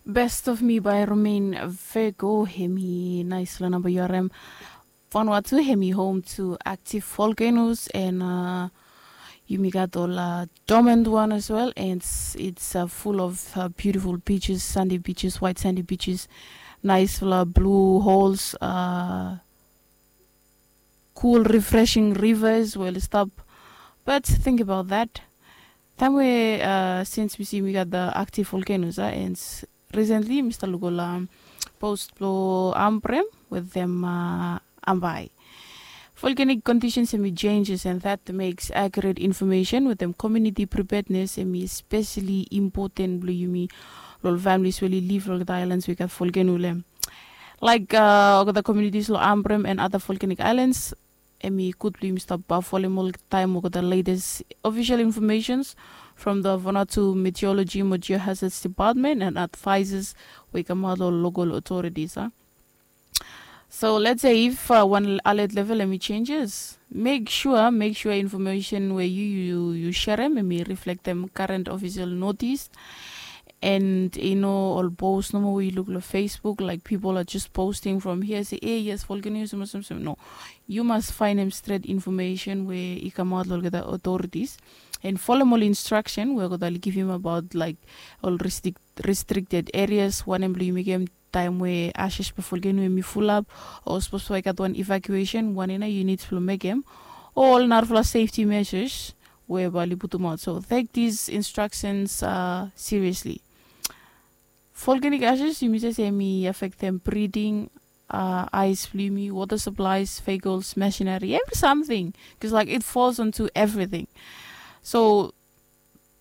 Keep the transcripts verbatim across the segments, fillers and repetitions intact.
Best of Me by Romain Vego, hemi naisfala namba yu harem. Vanuatu, hemi home to active volcanoes, and uh, yumi gat ol uh, dormant one as well, and it's, it's uh, full of uh, beautiful beaches, sandy beaches, white sandy beaches, naisfala blue holes, uh, cool refreshing rivers we oli stap. But think about that. Taem we uh, since we see we got the active volcanoes uh, and recently Mr. Lugola post blo Ambrem with them uh, Ambai. Volcanic conditions and changes, and that makes accurate information with them community preparedness and especially important blo yumi lo ol families we oli live lo the islands we got volcano lem. Like uh, olgeta communities lo Ambrem and other volcanic islands, hemi gud blo yumi stap folem oltaem olgeta latest official informations from the Vanuatu Meteorology mo Geohazards Department and advisors we i kamaot lo local authorities. Uh. So let's say if uh, one alert level hemi changes, make sure, make sure information we yu yu yu sharem hemi reflect them current official notice. And you know, ol post nomo we yu luk lo Facebook, like people are just posting from here, say, hey, yes, volcano is no. Yu mas faenem stret information we i kamaot lo olgeta authorities and folem ol instruction we olgeta oli givim about like ol restrict, restricted areas wanem blo yu mekem taem we ashes blo volcano hemi fulap, o sapos we i gat wan evacuation wanem nao yu nid blo mekem, o ol narafala safety measures we bae oli putumaot. So take these instructions uh, seriously. Volcanic ashes, yumi save se hemi affectem breeding, uh, eyes blo yumi, water supplies, vehicles, machinery, every something, because like it falls onto everything. So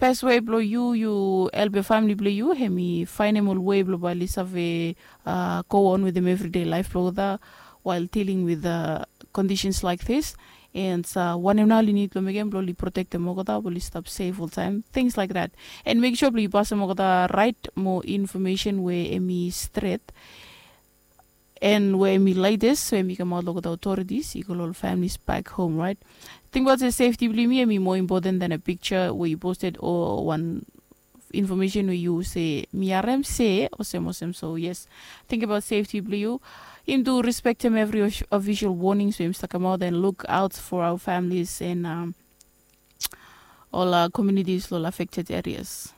best way blo yu yu help family blo yu, hemi faenem ol way blo bae oli save uh, go on with them everyday life blo olgeta while dealing with uh, conditions like this. And uh, wanem nao oli nid blo mekem blo oli protectem olgeta blo oli stap safe oltaem, things like that. And make sure blo yu pasem olgeta right mo information we hemi stret and we hemi latest we hemi kamaot lo olgeta authorities i go lo ol families back home, right? Tingbaot se safety blo yumi hemi more important than a picture we yu posted o wan information we yu se mi harem se olsem olsem. So yes, think about safety blo yu. Yumi tu respectem every official warnings we yumi stap kamaot and look out for our families and um, ol uh, communities lo ol affected areas.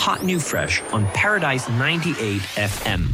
Hot new fresh on Paradise ninety-eight F M.